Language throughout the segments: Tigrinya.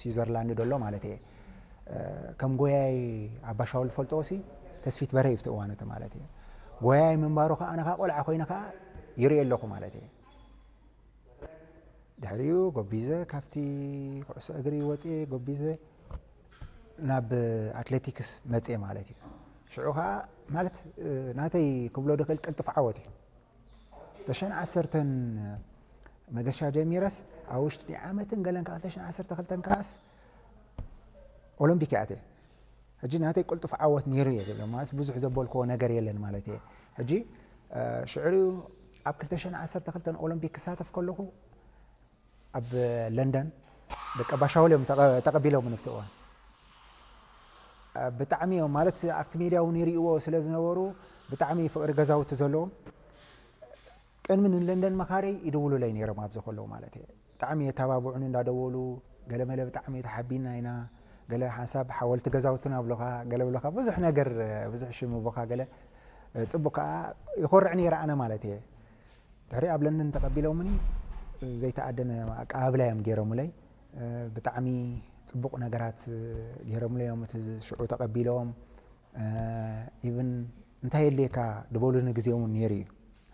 ስዊዘርላንድ ዘሎ ማለት እየ። ከም ጎያይ ኣባሻውል ፈልጦ ሲ ተስፊት በረ ይፍትእዋን እቲ ማለት እየ። ጎያይ ምንባሩ ከዓ ኣነ ከዓ ቆልዓ ኮይነ ከዓ ይርኢ ኣለኹ ማለት እየ። ድሕሪኡ ጎቢዘ ካብቲ ኩዕሶ እግሪ ወፅኤ ጎቢዘ ናብ ኣትሌቲክስ መፅኤ ማለት እዩ። ሽዑ ከዓ ማለት ናተይ ክብሎ ድኽእል ቅልጥፍ ዓወት እዩ። ተሸን ዓሰርተን መገሻ ጀሚረስ ኣብ ውሽጢ ዓመትን ገለን ካብ ተሸን ዓሰርተ ክልተን ከዓስ ኦሎምፒክ ኣተ። ሕጂ ናተይ ቅልጡፍ ዓወት ነይሩ እየ ዝብለ ማለት ብዙሕ ዘበልክዎ ነገር የለን ማለት እየ። ሕጂ ሽዕሪኡ ኣብ ክልተ ሽሕን ዓሰርተ ክልተን ኦሎምፒክ ክሳተፍ ከለኹ ኣብ ለንደን ደቂ ኣባሻውል እዮም ተቐቢሎም ንፍትእዋን ብጣዕሚ እዮም ማለት ኣብቲ ሜድያ እውን ይርእዎ ስለ ዝነበሩ ብጣዕሚ ፍቅሪ ገዛውቲ ዘለዎም ቅድሚ ንለንደን መኻረይ ይድውሉለይ ነይሮም ኣብዚ ከለዉ ማለት እየ። ብጣዕሚ የተባብዑኒ እንዳደወሉ ገለመለ ብጣዕሚ ተሓቢና ኢና ገለ ሓንሳብ ሓወልቲ ገዛውትና ብሎኻ ገለ ብሎኻ ብዙሕ ነገር ብዙሕ ሽም ቦኻ ገለ ጽቡቅ ከዓ ይኮርዕ ነይረ ኣነ ማለት እየ። ድሕሪ ኣብ ለንደን ተቐቢሎምኒ ዘይተኣደነ ኣቀባብላ እዮም ገይሮምለይ። ብጣዕሚ ጽቡቕ ነገራት ገይሮምለይ እዮም እቲ ሽዑ ተቐቢሎም። ኢቭን እንታይ የድልየካ ድበሉኒ ግዜ እውን ነይሩ እዩ።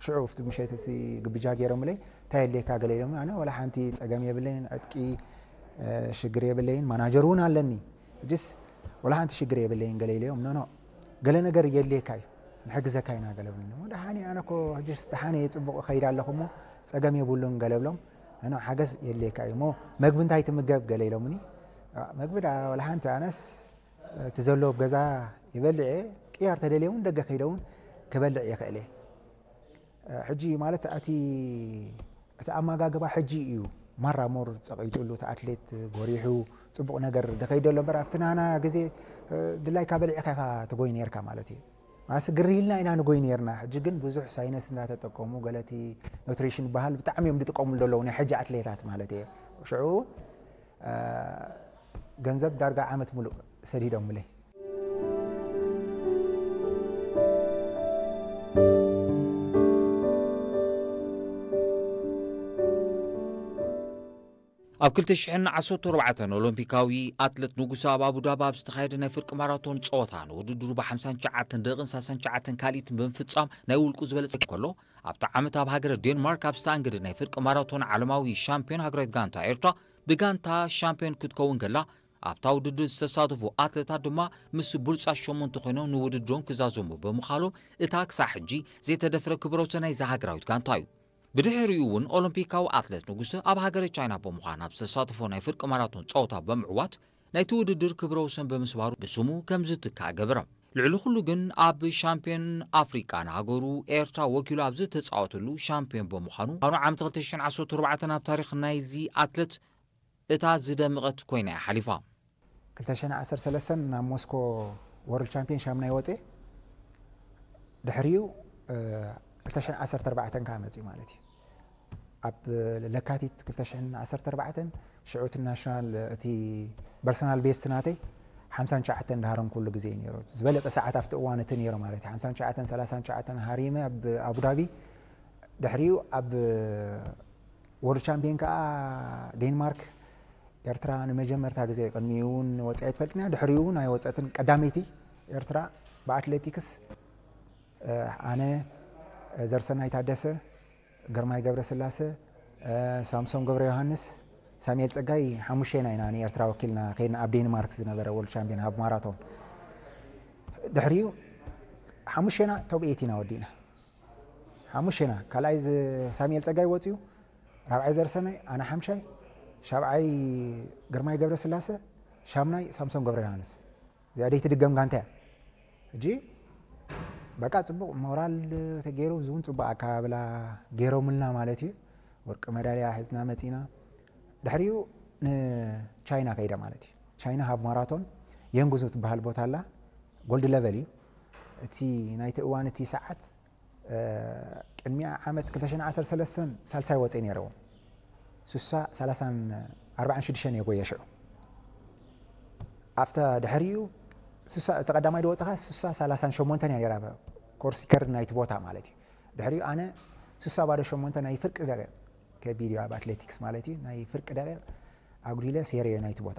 ሽዑ ኣብቲ ምሸት እዚ ግብጃ ገይሮምለይ እንታይ የድልየካ ገለ ኢሎም ኣነ ወላ ሓንቲ ጸገም የብለይን ዕጥቂ ሽግር የብለይን ማናጀር እውን ኣለኒ ሕጅስ ወላ ሓንቲ ሽግር የብለይን ገለ ኢለዮም ኖኖ ገለ ነገር የድልየካ እዩ ንሕግዘካ ኢና ገለ ብለኒ ደሓኒ ኣነ ኮ ሕጅስ ደሓነ እየ ጽቡቕ እኸይድ ኣለኹ እሞ ጸገም የብሉን ገለ ብሎም ኖኖ ሓገዝ የድልየካ እዩ እሞ መግቢ እንታይ ትምገብ ገለ ኢሎምኒ መግቢ ዳ ወላ ሓንቲ ኣነስ እቲ ዘሎ ኣብ ገዛ ይበልዕ እየ ቅያር ተደልየ እውን ደገ ከይደ እውን ክበልዕ ይኽእል እየ ሕጂ ማለት እቲ እቲ ኣመጋግባ ሕጂ እዩ ማራ ሞር ጸቒጥሉ እቲ ኣትሌት ጎሪሑ ጽቡቕ ነገር ደኸይደ ኣሎ እምበር ኣብቲ ናና ግዜ ድላይካ በሊዕካ ኢኻ ትጎይ ነርካ ማለት እዩ ማስ ግሪ ኢልና ኢና ንጎይ ነርና ሕጂ ግን ብዙሕ ሳይነስ እንዳተጠቀሙ ገለቲ ኑትሪሽን በሃል ብጣዕሚ እዮም ዝጥቀሙሉ ዘለዉ ናይ ሕጂ ኣትሌታት ማለት እየ ሽዑ ገንዘብ ዳርጋ ዓመት ሙሉእ ሰዲዶምለይ ኣብ ክልተ ሽሕን ዓሰርተ ኣርባዕተን ኦሎምፒካዊ ኣትለት ንጉሰ ኣብ ኣቡዳቢ ኣብ ዝተኻየደ ናይ ፍርቂ ማራቶን ጸወታ ንውድድሩ ብ ሓምሳን ትሽዓተን ደቂቕን ሰላሳን ትሽዓተን ካልኢትን ብምፍጻም ናይ ውልቁ ዝበለጸ ከሎ ኣብቲ ዓመት ኣብ ሃገረ ዴንማርክ ኣብ ዝተኣንገደ ናይ ፍርቂ ማራቶን ዓለማዊ ሻምፒዮን ሃገራዊት ጋንታ ኤርትራ ብጋንታ ሻምፒዮን ክትከውን ከላ ኣብታ ውድድር ዝተሳተፉ ኣትለታት ድማ ምስ ብሉጻት ሸሞንተ ኮይኖም ንውድድሮም ክዛዘሙ ብምኻሎም እታ ክሳዕ ሕጂ ዘይተደፍረ ክብረ ወሰን ናይዛ ሃገራዊት ጋንታ እዩ። ብድሕሪኡ እውን ኦሎምፒካዊ ኣትሌት ንጉሰ ኣብ ሃገረ ቻይና ብምዃን ኣብ ዝተሳተፎ ናይ ፍርቂ ማራቶን ጸወታ ብምዕዋት ናይቲ ውድድር ክብረ ወሰን ብምስባሩ ብስሙ ከም ዝትካእ ገበረ። ልዕሊ ኩሉ ግን ኣብ ሻምፒዮን ኣፍሪቃ ንሃገሩ ኤርትራ ወኪሉ ኣብ ዝተጻወተሉ ሻምፒዮን ብምዃኑ ኣብ ዓመት ክልተ ሽሕን ዓሰርተ ኣርባዕተን ኣብ ታሪኽ ናይዚ ኣትሌት እታ ዝደመቐት ኮይና እያ ሓሊፋ። ክልተ ሽሕን ዓሰርተ ሰለስተን ናብ ሞስኮ ወርልድ ቻምፒዮን ሻምናይ ወፅየ ድሕሪኡ ክልተ ሽሕን ዓሰርተ ኣርባዕተን ከዓ መፅዩ ማለት እዩ ኣብ ለካቲት ክልተ ሽሕን ዓሰርተ ኣርባዕተን ሽዑ እቲ ናሽናል እቲ ፐርሰናል ቤስት ናተይ ሓምሳን ትሽዓተን ድሃረም ኩሉ ግዜ እዩ ነይሩ ዝበለፀ ሰዓት ኣብቲ እዋን እቲ ነይሩ ማለት እዩ ሓምሳን ትሽዓተን ሰላሳን ትሽዓተን ሃሪመ ኣብ ኣቡዳቢ ድሕሪኡ ኣብ ወርልድ ቻምፒዮን ከዓ ዴንማርክ ኤርትራ ንመጀመርታ ግዜ ቅድሚኡ እውን ወፂኣ ኣይትፈልጥን እያ ድሕሪኡ እውን ኣይወፀትን ቀዳመይቲ ኤርትራ ብኣትሌቲክስ ኣነ ዘርሰናይ ታደሰ ግርማይ ገብረስላሰ ሳምሶም ገብረ ዮሃንስ ሳሙኤል ፀጋይ ሓሙሽቴና ኢና ንኤርትራ ወኪልና ከይድና ኣብ ዴንማርክ ዝነበረ ወርልድ ቻምፒዮን ኣብ ማራቶን ድሕሪኡ ሓሙሽቴና ቶብ ኤት ኢና ወዲእና ሓሙሽቴና ካልኣይ ሳሙኤል ፀጋይ ወፅዩ ራብዓይ ዘርሰናይ ኣነ ሓምሻይ ሻብዓይ ግርማይ ገብረስላሰ ሻምናይ ሳምሶም ገብረ ዮሃንስ እዚኣ ደይ ትድገም ጋንታ እያ ሕጂ በቃ ፅቡቅ ሞራል ተገይሩ እዚ እውን ፅቡቅ ኣካባብላ ገይሮምልና ማለት እዩ ወርቂ መዳልያ ሕዝና መፂና ድሕሪኡ ንቻይና ከይደ ማለት እዩ ቻይና ሃብ ማራቶን የንጉዙ ትበሃል ቦታ ኣላ ጎልድ ለቨል እዩ እቲ ናይቲ እዋን እቲ ሰዓት ቅድሚያ ዓመት ክልተ ሽሕን ዓሰርተ ሰለስተን ሳልሳይ ወፅእ ነይረዎ ስሳ ሰላሳን ኣርባዓን ሽዱሽተን እየ ጎየ ሽዑ ኣብታ ድሕሪኡ ስሳ እቲ ቀዳማይ ዝወፅኻ ስሳ ሰላሳን ሸሞንተን እያ ነይራ ኮርስ ከርድ ናይቲ ቦታ ማለት እዩ ድሕሪኡ ኣነ ስሳ ባዶ ሸሞንተ ናይ ፍርቂ ደቂቕ ከቢድ እዩ ኣብ ኣትሌቲክስ ማለት እዩ ናይ ፍርቂ ደቂቕ ኣጉዲለ ሴርዮ ናይቲ ቦታ